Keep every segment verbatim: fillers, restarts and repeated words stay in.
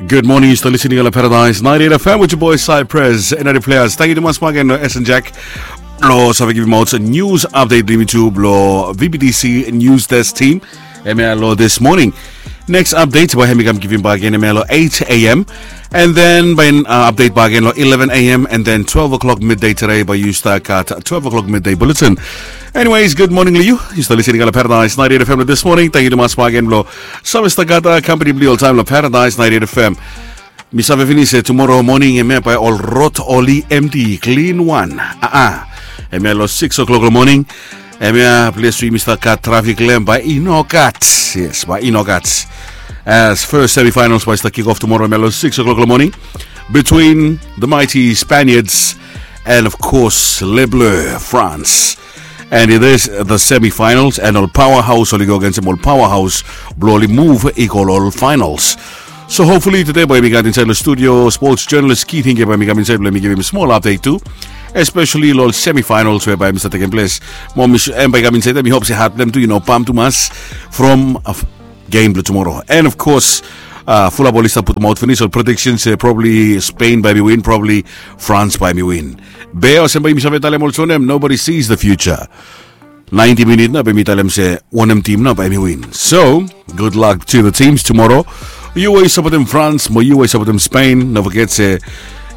Good morning, yu stap listening long Paradise ninety-eight F M with your boy Cypress and other players. Thank you tumas bak agen long S N Jack. Lo save givim aot news update blong yumi tu blong V B T C news desk team. Hemia lo this morning. Next update bae hemi kam givim bak agen hemia lo eight a.m. And then bae update bak agen lo eleven a.m. and then twelve o'clock midday today bae yu stap gat twelve o'clock midday bulletin. Anyways, good morning long yu. Yu stap listening long Paradise ninety-eight F M lo this morning. Thank you tumas bak agen lo save stap gat kampani blong yu oltaem lo Paradise ninety-eight F M. Mi save finis se tumoro moning hemia bae ol rod oli emti klin wan. Aa, hemia lo six o'clock lo moning. Hemia ples we yumi stap gat trafik long hem bae i no gat. Yes, bae i no gat. As first semifinals bae stap kick off tumoro hemia lo six o'clock lo moning between the mighty Spaniards and of course Le Bleu France. And it is the semifinals and ol powerhouse oli go agensem ol powerhouse blong oli move i go lo ol finals. So hopefully today bae mi gat insaed lo studio sports journalist Keith Hinge bae mi kam insaed blong mi givim smol update tu, especially lo ol semifinals we bae mi stap tekem ples. Mo mi sure hem bae i kam insaed, mi hop se hat blong hem tu i no pam tumas from game blong tumoro. And of course, fulap oli stap putum aot finis ol predictions se probably Spain bae mi win, probably France bae mi win. Be olsem bae yumi save talem olsem wanem, nobody sees the future. Ninety minit nao bae mi talem se wanem tim nao bae mi win. So good luck to the teams tumoro. Yu we yu sapotem France mo yu we yu sapotem Spain, no foget se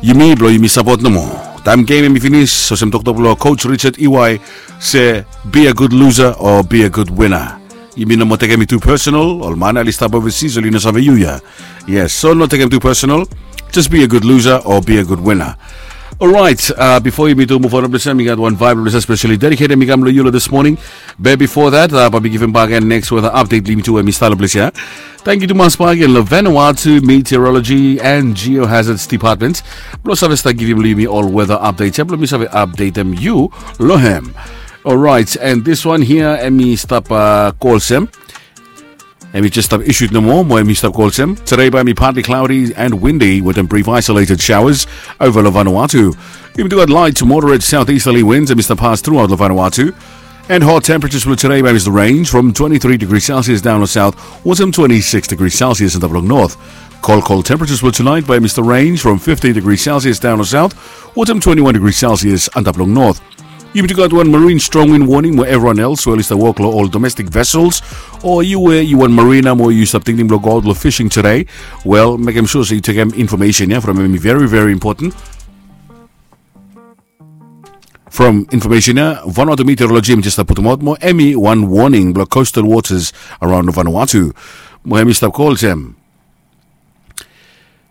yumi blong yumi sapot nomo. Taem game hemi finis, olsem toktok blong coach Richard Iwai se, be a good loser or be a good winner. Yumi no moa tekem i tu personal. Ol man ya oli stap overseas, oli no save yu ya. Yes, so no tekem tu personal. Just be a good loser or be a good winner. Orait, bifo yumi tu muv on long ples ya, mi gat wan vaep long ples ya specially dedicated mi kam long yu long this morning. Be bifo that, bae mi givim bak agen next weather update blong yumi tu we mi stap long ples ya. Tangkiu tumas bak agen long Vanuatu Meteorology and Geohazards Department blong save stap givim long yumi ol weather update ya blong mi save updatem yu long hem. Orait, and this one hia hemi stap go olsem, hemi jes stap issued nomo mo hemi stap go olsem, today bae hemi partly cloudy and windy with some brief isolated showers over long Vanuatu. Yumi tu gat light to moderate southeasterly winds hemi stap pass throughout long Vanuatu. And hot temperatures blong today bae hemi stap range from twenty-three degrees Celsius daon long south wetem twenty-six degrees Celsius antap long north. Cold, cold temperatures blong tonight bae hemi stap range from fifteen degrees Celsius daon long south wetem twenty-one degrees Celsius antap long north. Yumi tu gat wan marine strong wind warning mo evriwan els we oli stap wok long ol domestic vessels, o yu we yu wan marina mo yu stap tingting blong go aot long fishing today, wel, mekem sua se yu tekem infomesen ya from hem, hemi very very important. From infomesen ya Vanuatu Meteorology hemi jes stap putum aot mo hemi wan warning blong coastal waters around Vanuatu. Mo hemi stap go olsem,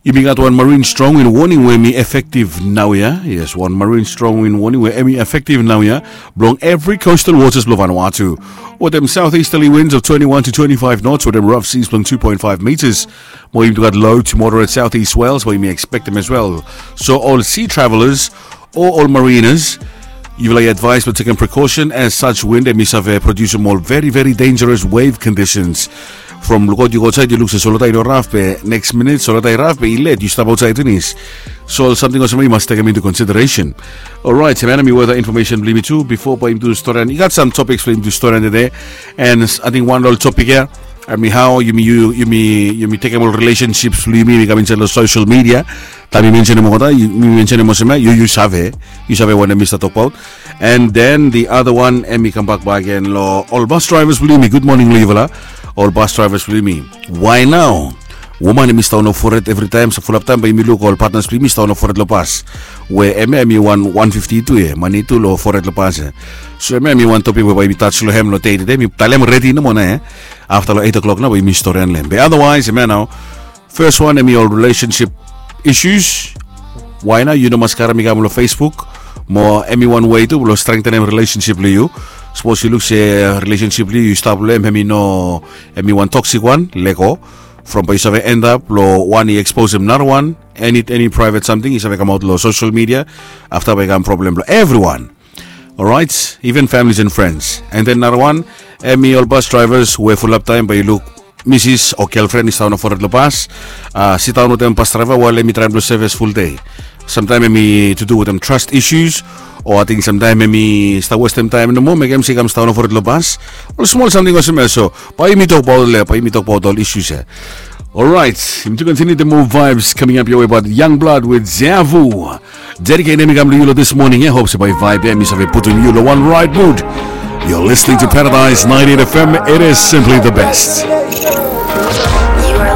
yumi gat wan marine strong wind warning we hemi efektif naoia. Yes, wan marine strong wind warning we hemi efektif naoia blong evri coastal waters blong Vanuatu, wetem southeasterly winds of twenty-one to twenty-five knots wetem rough seas blong two point five meters. Mo yumi tu gat low to moderate southeast swells we yumi ekspektem as well. So ol sea travellers o ol marinas, yufala i advaes blong tekem precaution as such wind hemi save produsim ol very very dangerous wave conditions. From lukaot yu go aotsaed yu luk se solwota i no raf, be neks minit solwota i raf be i let yu stap aotsaed finis. So ol samting olsem ya yu mas tekem into consideration. Orait, hemia nao hemi weather infomesen blong yumi tu. Bifo bae yumi tu storian, i gat sam topiks blong yumi tu storian tede. And ating wan long ol topik ya hemi hao yumi, yumi, yumi tekem ol relationships blong yumi, yumi kam insaed long social media. Taem mi mensenem olgeta, mi mensenem olsem ya, yu, yu save, yu save wanem mi stap tokbaot. And then the other one hemi kambak bakegen long ol bus drivers blong yumi. Gud moning long yufala ol bus drivers blong yumi. Wae nao woman hemi stap on fored evritaem? So fulap taem bae yumi luk ol patnas blong yumi stap on fored long bus, we hemia hemi wan wan fifti tu ya, mane tu long fored long bus ya. So hemia hemi wan topik we bae yumi tas long hem long dei tede, mi talem redi nomo nao ya. Afta long eight o'clock nao bae yumi storian long hem. Be otherwise hemia nao, fes wan hemi ol relationship issues. Wae nao yu no mas karem i kam long Facebook, mo hemi wan wei tu blong strengtenem relationship blong yu. Sapos yu luk se relationship blong yu yu stap long hem hemi no, hemi wan toxic wan, lego. From bae yu save endap long wan i eksposem narawan, eni, eni private samting i save kamaot long social media. Afta bae i kam problem blong evriwan. Orait, even families and friends. And then narawan hemi ol bus drivers we fulap taem bae yu luk misis o gelfren i stap on fored long bus, sidaon wetem bus draiva wael hemi traem blong sevis fuldei. Samtaem hemi to do wetem trust issues, o ating samtaem hemi stap westem taem nomo mekem se i kam sidaon on fored long bus. Ol smol samting olsem ya. So bae yumi tokbaot long ya, bae yumi tokbaot ol issues ya. Alright, im tu continue the more vibes coming up your way about Young Blood with Zavu. Dedicate him come to you this morning. I hope so by vibe. Mi save put on you the one right mood. You're listening to Paradise ninety-eight F M. It is simply the best.